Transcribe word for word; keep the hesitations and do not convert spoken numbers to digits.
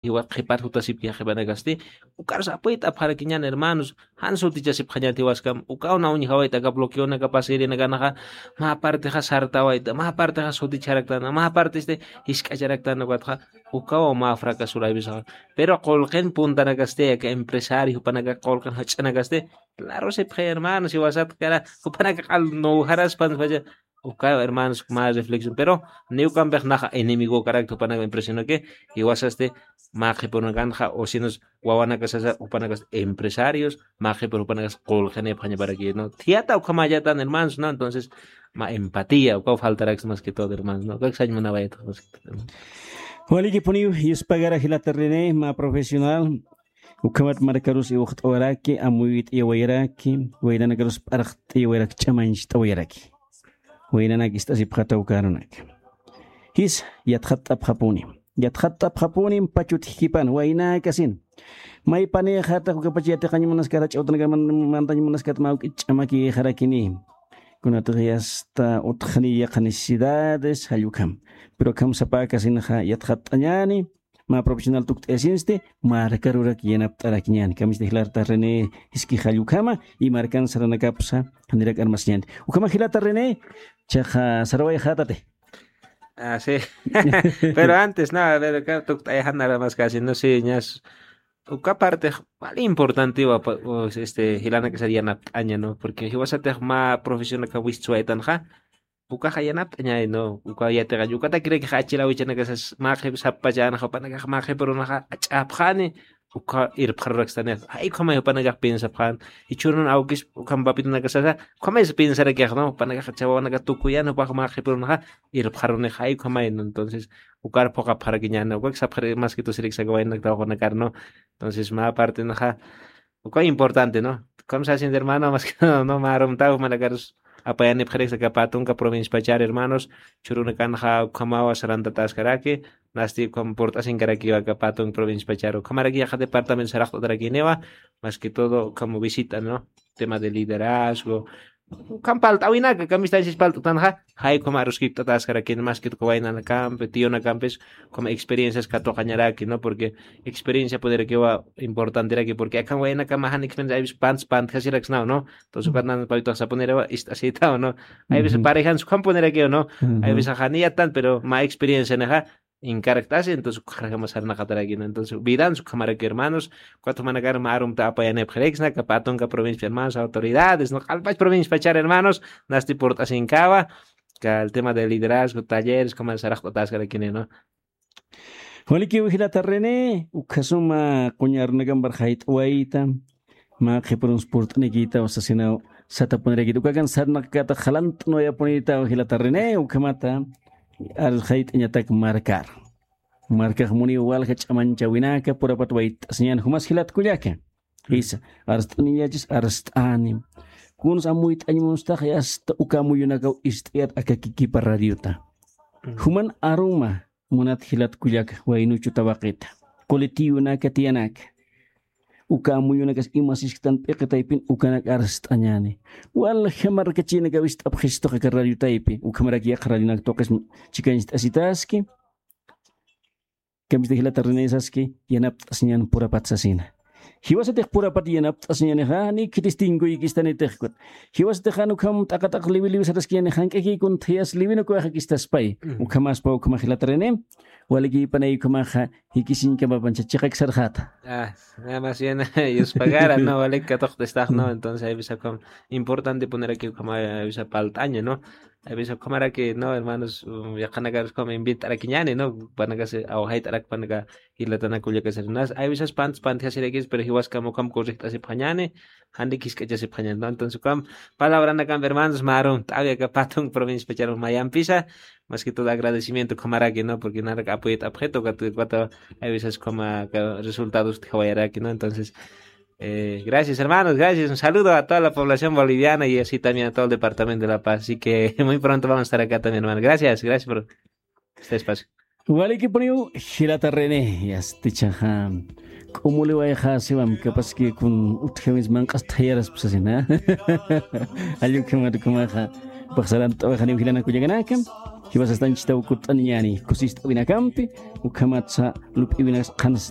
jiwa qhipat jutasipki, jiqhipanakasti ukarus apuyt'apxarakiñan hermanos. Jan sutichasipxañat jiwaskam, ukaw na uñjawayta aka bloqueonaka pasirinakanxa, mä partixa sartawayta, mä partixa suticharaktana, mä partisti jisk'acharaktana ukatxa, ukaw mä fracasuraypisaxa. Pero qullqin puntanakasti, aka empresario jupanaka qullqin jach'anakasti, claro sipxi hermanos, jiwasat kara jupanaka q'al nuwjaraspan pacha. Uka hermanos mä reflexión, pero niw kampix naxa enemigo karakta jupanaka impresionaki, jiwasasti mä qhipunakanxa o sinos wawanakasasa jupanakas empresarios, mä qhipur jupanakas qullqinipxañaparaki, ¿no? Thiyata ukhamallatan hermanos, ¿no? Entonces mä empatía ukaw faltaraksa más que todo hermanos, ¿no? Ukak sañ munawayta más que todo. Walikipuniw, yuspagara jilata René, mä profesional, ukhamat markarus iwxt'awaraki, amuyt'iyawayaraki, waynanakarus p'arxt'iyawayaraki, ch'amancht'awayaraki. Waynanak ist'asipxata uka arunak. Jis, yatxatt'apxapuni. Yatxatt'apxapuni pachut jipan, waynakasin. Maypanïxata, ukapach yatiqañ munaskat, ch'awtanaka man-, mantañ munaskat, mä uk'it ch'amakïxarakini. Kunatix yasta utxni yaqha necesidades, jall ukham. Pero akham sapäkasinxa yatxatt'añäni, mä profesional tukt'ayasinsti, markarurak yanapt'arakiñäni. Kamista jilarta René, jiski jall ukhama, y markan saranakapsa, janirak armasiñäni. Ukhama jilata René, chaqa sarawayxätati. Ah, sí. Pero antes, no, a ver, acá tukt'ayxan nada más casi, no sé, ñas. Uka parte, vale, importante, wa, pa, o, este, jilanakasar yanapt'aña, ¿no? Porque jiwasatix mä profesional aka wistsuwaytanxa, ukaxa yanapt'añay, ¿no? Uka yatiqañ, ukatakiraki jachila awichanakasas, mä qhip sappachänaxa, jupanakax mä qhipürunaxa ach'apxani, uka irpxarurakstani, jay ukhamay jupanakax piensapxän, jichhürun awkis, ukham papitunakasasa, ukhamaysa piensarakix, ¿no? Jupanakax chawawanaka tukuyan, jupax mä qhipürunaxa irpxaruni, jay ukhamay, ¿no? Entonces, ukar phuqapxarakiñäni, ukak sapxari, más que todo, siriksa aka waynanak tawaqunakar, ¿no? Entonces, mä partenaxa, uka importante, ¿no? Como se haciendo hermano, más que todo, ¿no? Mä arumtaw, jupanakarus apayanipxariksa aka pä tunka provincia pachar, hermanos, jichhürunakanxa ukhamawa sarantatäskaraki, nasti ukham purt'asinkarakiwa aka pä tunka provincia pachar, ukhamaraki yaqha departamento saraqt'atarakiniwa, más que todo, como visita, ¿no? Tema de liderazgo, ukham palt'äwinaka, kamistanchis palt'tanxa, jay ukham aruskipt'atäskarakini, más que todo, waynanakampi, tiyunakampis, como experiencias katuqañaraki, ¿no? Porque experiencia puderakiwa importanteraki, porque akham waynakama jan experiencia, hay veces pants, pantjasiraksnaw, ¿no? Entonces, ukat nan paytax sapunirawa, ist'asitaw, ¿no? Hay veces parejansa ukham punirakiw, ¿no? Hay veces janiyatan, pero mä experiencia naxa, inkaraktas, entonces, ukxarakama sarnaqataraki, ¿no? Entonces, vidansa ukhamaraki, hermanos, ukat jumanakar mä arumta apayanipxiriksna, aka pä tunka provincia, hermanos, autoridades, ¿no? Q'alpach provincia pachar, hermanos, nasti purt'asinkawa, aka el tema de liderazgo, talleres, como saraqt'atäskarakini, ¿no? Walikiw jilata René, ukhasuma quñarunakampar jayt'awayta, mä qhipürunsa purt'anikïtaw sasinaw satapunirakitu. Ukakan sarnaqkata jalant'nuwayapunïtaw jilata René, ukhamata arus jayt'añatak markar. Markax muniw walja ch'amanchäwinaka purapat wayt'asiñän, jumas jilat kullaka. Jisa, arst'aniñachis arst'ani. Kuns amuyt'añ munstax, yasta uka amuyunakaw ist'ayat aka kikipa radiota. Juman aruma, munat jilat kullaka, waynuchu tawaqita, colectivonaka tiyanaka. Uka amuyunakas ima sisktan p'iqi taypin ukanak arst'añäni. Walja markachïnaka wist'apxistuxa aka radio taypi, ukhamarak yaqha radionak tuqis chikañcht'asitaski. Kamista jilata René saski, yanapt'asiñän purapat sasina. Jiwasatix purapat yanapt'asiñänixa, ni khitistinkuykistanitix kut. Jiwasatix jan ukham t'aqat'aq liwi liwi saraskiñäni, jank'akïkun thiyas liwinukwaxakistaspay. Ukhamaspa ukhama jilata René, walikïpanay ukhamaxa, jikisiñkamapancha chiqak sarxata. Ah, nada más bien, yuspagara, ¿no? Walik katuqt'istax, ¿no? Entonces, hay veces como importante poner aquí como hay veces paltaña, ¿no? Hay veces como era que, ¿no? Hermanos, um, yaqanakarus como invitarakiñani, ¿no? Panakasi, awajaytarak panaka, jilatanakullakasirinas. Hay veces pant, pant hasirakis, pero jiwas como como correcta si pañani, jandi kiskachasi pañani, ¿no? Entonces, como palabra nakan, hermanos, marum, todavía que patun provincia pacharon mayampisa, más que todo agradecimiento, como era que, ¿no? Porque nada que apoyo objeto, que cuatro, hay veces como que resultados de Hawaiiaraki, ¿no? Entonces, eh, gracias, hermanos, gracias. Un saludo a toda la población boliviana y así también a todo el departamento de La Paz. Así que muy pronto vamos a estar acá también, hermano. Gracias, gracias por este espacio. Walikipuniw, jilata René, yastichaxa. K'umuliwayxa siwam, capaz que kun utjawins manq'as thayaras pusasina. Allukhamat kumaxa, paxsaran t'awajaniw jilanakullakanaka. Jiwasastanchitaw kutt'aniñani kusist'awinakampi. Ukhamatsa lup'iwinas qhans